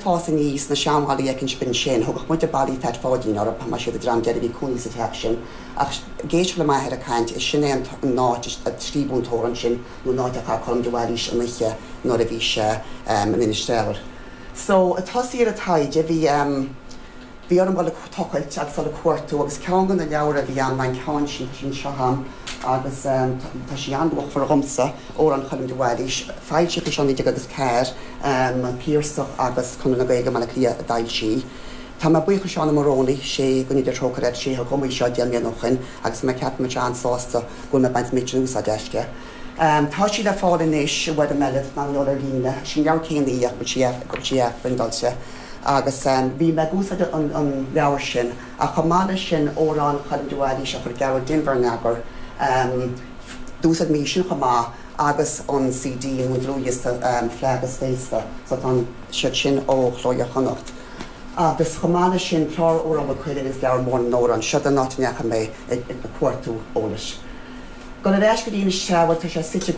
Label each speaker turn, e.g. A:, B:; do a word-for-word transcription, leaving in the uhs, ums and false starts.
A: fás aníos sna seanbhallaí éicint ansin, thugadh muide ballaí Pheait Pháidín orthu mar siad an dream deiridh a bhí cónaí sa teach sin, ach ag éisteacht le m'athair ag caint is sin é an áit a scríobhadh an t-amhrán sin nó an áit a chaith Colm de Bhailís an oíche nuair a bhí sé in Inis Treabhair. So ag tosaí ar an taighde bhí bhí orm dul ag tochailt agus dul ag cuartú agus ceann de na leabhair a bhí ann ná an ceann sin tá sí anseo agam agus tá sí an-luachmhar dhomsa Amhráin Choilm de Bhailís, foilsíodh í seo naoi déag agus ceathair an Piarsach agus Conradh na Gaeilge i mBaile Átha Cliath a d'fhoilsigh. Tá mé buíoch do Seán Ó Morónaí sé go ndéana Dia trócaire air sé a thug dom í seo deich mbliana ó shin agus mé ceapaim an-sásta go bhfuil mé ag baint méid sin úsáid aisti. Tá sí le fáil anois i bhfoirm eile ná ar líne, sin leabhar céanna í ach bhfuil sí go sí phriontáilte. agus bhí mé ag úsáid an leabhar sin ach chomh maith leis sin Amhráin Choilm de Bhailís a chuir Gearóid Denvir in eagar d'úsáid mé sin chomh maith agus an CD nó dlúthdhiosca Fleadh agus Féasta so tá siad sin ó Chló Iar-Chonnacht. Agus chomh maith leis sin clár Amhrán Mhaigh Cuilinn agus leabhar mór na n-amhrán seo an áit a ndeachaigh mé ag cuartú eolais. Dul ar ais go dtí Inis Treabhair tá sé suite